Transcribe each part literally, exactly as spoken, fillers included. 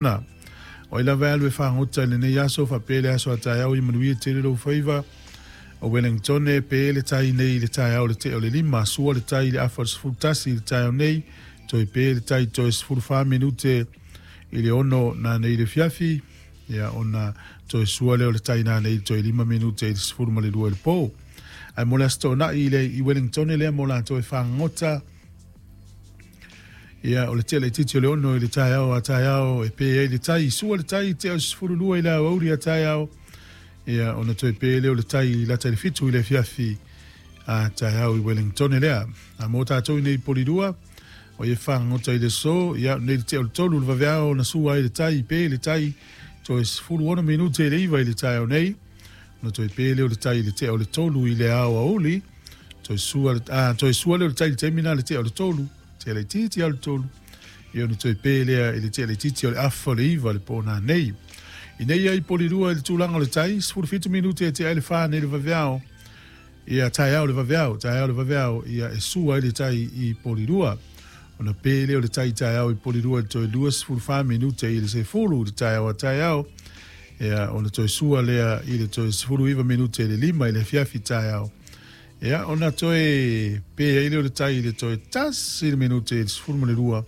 O ai lava e alu e fagota i lenei aso faapea le aso a taeao i manuia tele lou faiva. O Wellington e pe le tai nei i le taeao le tea o le lima, sua le tai i le afa o le sefulu tasi i le taeao nei, toe pe le tai toe sefulu fa minute i le ono nanei i le fiafi, ia ona toe sua lea o le tai nanei i toe lima minute i le sefulu ma le lua i le po. Ae mo le Aso Toonai i le i Wellington lea mo latou e fagota, ia o le tea laitiiti o le ono i le taeao a taeao e pe ai le tai, sua le tai tea o le sefulu lua i le aoauli a taeao, ia ona toe pe lea o le tai i lata i le fitu i le afiafi a taeao i Wellington lea. A mo tatou i nei Polilua, o ia fagota i le aso, ia nei le tea o le tolu le vaveao na sua ai le tai, pe le tai toe sefulu ono minute i le iva i le taeao nei, ona toe pe lea o le tai i le tea o le tolu i le aoauli, toe sua, a, toe sua lea o le tai i le taimi na le tea o le tolu, tea laitiiti o le tolu, ia ona toe pe lea i le tea laitiiti o le afa o le iva le po nanei. I nei ai Polilua i le tulaga o le tai, sefulu fitu minute e tea ai le fa nei le vaveao, ia taeao le vaveao, taeao le vaveao, ia e sua ai le tai i Polilua. Ona pe lea o le tai taeao i Polilua i le toe lua sefulu fa minute i le sefulu i le taeao a taeao, ia ona toe sua lea i le toe sefulu iva minute i le lima i le afiafi taeao. Ia ona toe pe ai lea o le tai i le toe tasi le minute i le sefulu ma le lua,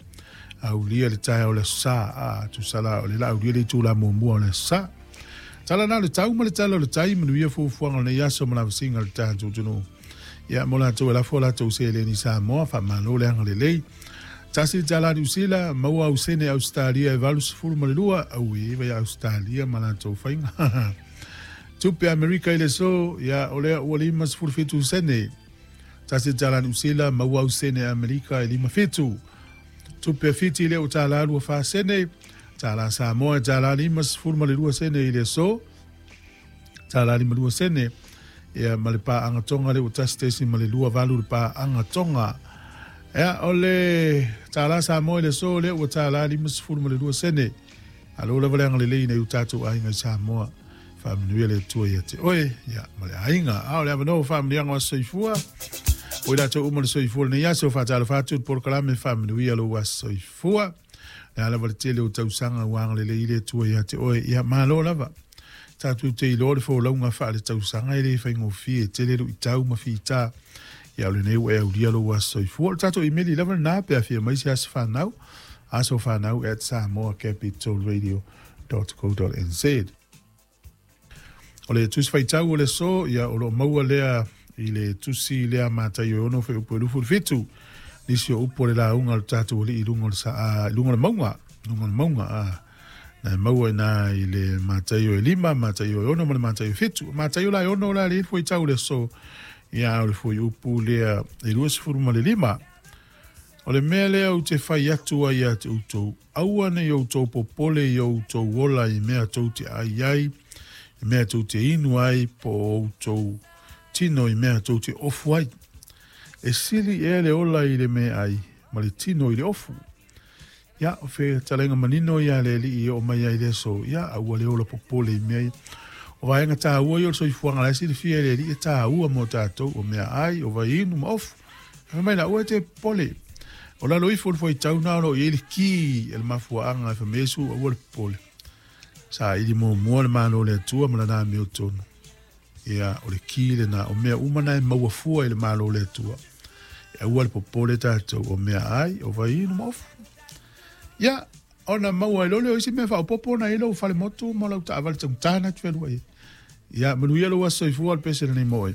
aulia le taeao o le aso sa, a tusa la o le la aulia le itula muamua o le aso sa. Tala na o le tau ma le tala o le tai, manuia fuafuaga o lenei aso ma lavasiga o le tatou atunuu. Ia mo latou e lafo latou seleni Samoa, faamalo le agalelei. Tasi le tala Niu Sila, maua au sene Ausetalia e valu sefulu ma le lua, auē vai Ausetalia ma latou faiga. Tupe Amerika i le aso, ia o lea ua lima sefulu fitu sene. Tasi le tala Niu Sila, maua au sene Amerika e lima fitu. Tupe Fiti lea ua tala lua fa sene. Tala Samoa e tala lima sefulu ma le lua sene i le aso. Tala lima lua sene. Ia ma le paaga Tonga lea ua tasi tesi ma le lua valu le paaga Tonga. Ia o le tala Samoa i le aso lea ua tala lima sefulu ma le lua sene. Alo lava le agalelei nei o tatou aiga i Samoa. Faamanuia le Atua ia te oe, ia ma le aiga. A o le avanoa o faamanuiaga o aso soifua. O i latou uma le soifua lenei aso, faatalofa atu i le polokalame faamanuia lou aso soifua. Le a lava le tele o tausaga ua agalelei le Atua ia te oe, ia malo lava. Tatou te iloa le folauga faaletausaga e le faigofie, tele luitau ma fita. Ia o lenei ua e aulia lou aso soifua. O le tatou imeli lava lena pe afia mai se aso fanau, asofanau at samoa capital radio dot co dot nz. O le tusi faitau o le aso, ia o loo maua lea i le tusi lea Mataio e ono fuaiupu e luasefulu fitu. Nisi o upu o le lauga o le tatou alii i luga o le sa, a, luga o le mauga, luga o le mauga, a, na e maua i na i le Mataio e lima, Mataio e ono ma le Mataio e fitu. Mataio la e ono la le fuaitau o le aso, ia o le fuaiupu lea e luasefulu ma le lima. O le mea lea ou te fai atu ai ia te outou, aua nei outou popole i outou ola i mea tou te ai ai, i mea tou te inu ai, po o outou tino i mea tou te ofu ai. E sili ea le ola i le meaai, ma le tino i le ofu. Ia, o fetalaiga manino ia le alii i oo mai ai le aso, ia, aua le ola popole i mea ia. O vaega tāua ia o le soifuaga la e silafia e le alii e tāua mo tatou, o meaai, o vaiinu ma ofu. Fai mai la, aua e te popole. O lalo ifo o le fuaitau na o lo o i ai le ki e le mafuaaga e famesu, aua le popole. Sa ili muamua le Malo o le Atua ma lana amiotonu. Ia, o le ki lena, o mea uma na e maua fua i le Malo o le Atua. E aua le popole tatou, o meaai, o vaiinu ma ofu. Ia, ona maua ai loa lea o isi mea faaopoopo ona i ai lou falemotu ma lau taavale taugata na e te fealuai ai. Ia, manuia lou aso soifua o le pese lenei mo oe.